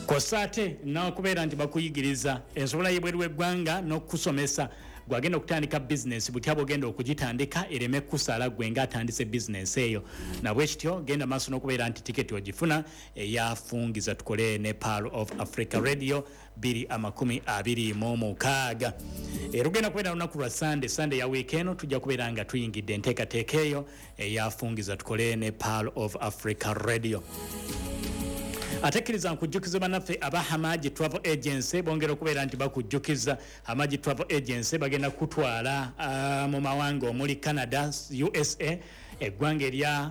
Kwossa ate n'okubeera nti bakuyigiriza ensobola y'ebweru w'eggwanga n'okukusomesa gwagenda okutandika bizinensi butya bwogenda okugitandika ereme kukusala gwe nga atandise bizinensi eyo. Nabwekityo genda maaso n'okubeera nti tiketi ogifuna eyafungiza tukole ne Pearl of Africa Radio 2026. Era ogenda kubeera lunaku lwa Sande, Sande ya wiiki eno tujja kubeera nga tuyingidde enteekateeka eyo eyafungiza tukole ne Pearl of Africa Radio. Ate kkiriza nkujjukize bannaffe aba Hamaji Travel Agency bongera okubeera nti bakujjukiza. Hamaji Travel Agency bagenda kutwala mu mawanga omuli Canada, USA, eggwanga erya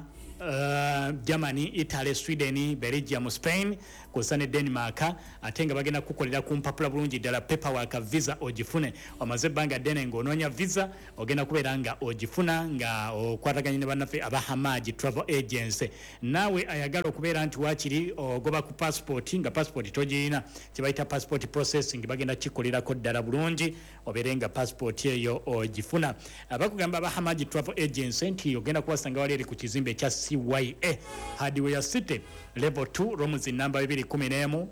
Germany, Italy, Sweden, Belgium, Spain kwossa ne Denmark, ate nga bagenda kukukolera ku mpapula bulungi ddala paperwork visa ogifune. Omaze ebbanga ddene ng'onoonya visa, ogenda kubeera nga ogifuna nga okwataganye ne bannaffe aba Hamaji Travel Agency. Naawe ayagala okubeera nti waakiri ogoba ku passport nga passport togirina, kye bayita passport processing bagenda kukikolerako ddala bulungi obeere nga passport eyo ogifuna. Bakugamba aba Hamaji Travel Agency nti ogenda kubasanga wali eri ku kizimbe ekya CYA Hardware City level 2 rooms namba 211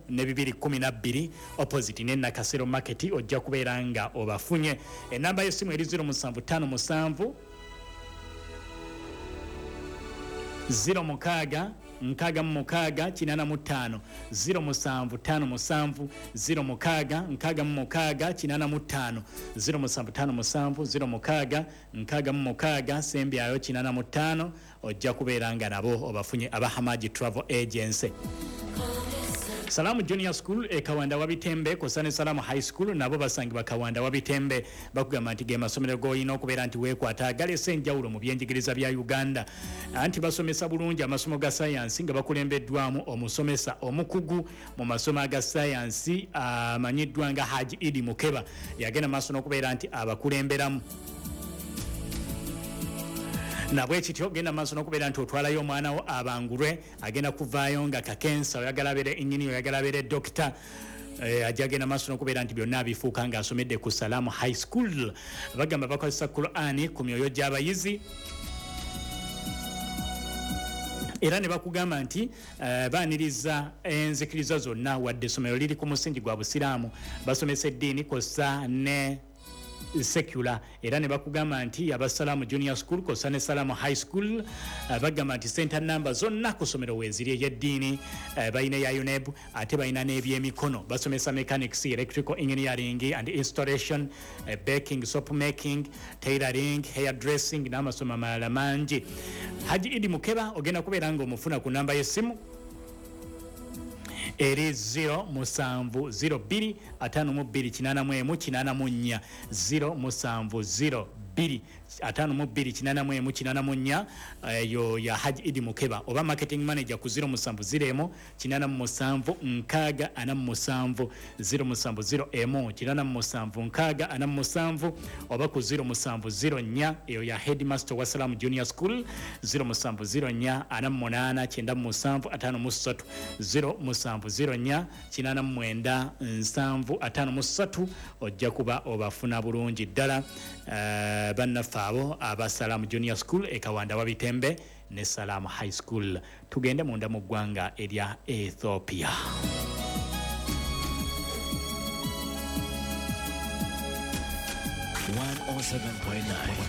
ne 212 opposite ne Nakasero Market, ojja kubeera nga obafunye. Enamba y'essimu eri 0757 06 66 85 0757 06 66 85 0757 06 66 sembyayo 85, ojja kubeera nga nabo obafunye aba Hamaji Travel Agency. Salamu Junior School e Kawanda Wabitembe kwossa ne Salamu High School nabo basangibwa Kawanda Wabitembe. Bakugamba nti ge masomero g'olina okubeera nti weekwata agaleese enjawulo mu byenjigiriza bya Uganda, anti basomesa bulungi amasomo ga sayansi nga bakulembeddwamu omusomesa omukugu mu masomo aga sayansi amanyiddwa nga Haji Idi Mukeba, yagenda maaso n'okubeera nti abakulemberamu. Nabwekityo genda maaso n'okubeera nti otwalayo omwana wo abangulwe, agenda kuvaayo nga kakensa. Oyagala abeere engineer, oyagala abeere dokita, ajja genda maaso n'okubeera nti byonna abifuuka ng'asomedde ku Salamu High School. Bagamba bakozesa Qur'ani ku myoyo gy'abayizi, era ne bakugamba nti baaniriza enzikiriza zonna, wadde essomero liri ku musingi gwa Busiraamu, basomesa eddiini kwossa ne secular. Era ne bakugamba nti aba Salamu Junior School kwossa ne Salamu High School bagamba nti center number zonna ku ssomero weeziri, ey'eddiini balina eya UNEB, ate balina n'ebyemikono, basomesa mechanics, electrical engineering and installation, baking, soap making, tailoring, hair dressing n'amasomo amalala mangi. Haji Idi Mukeba ogenda kubeera ng'omufuna ku namba y'essimu eri 0702 52 81 84, 0702 52 81 84, eyo ya Haji Idi Mukeba, oba marketing manager ku 0701 87 6 47, 0701 87 6 47, oba ku 0704, eyo ya headmaster wa Salamu Junior School, 0704 48 97 53, 0704 89 7 53, ojja kuba obafuna bulungi ddala bannaffe abo aba Salamu Junior School e Kawanda Wabitembe ne Salamu High School. Tugende munda mu ggwanga erya Ethiopia. 107.9.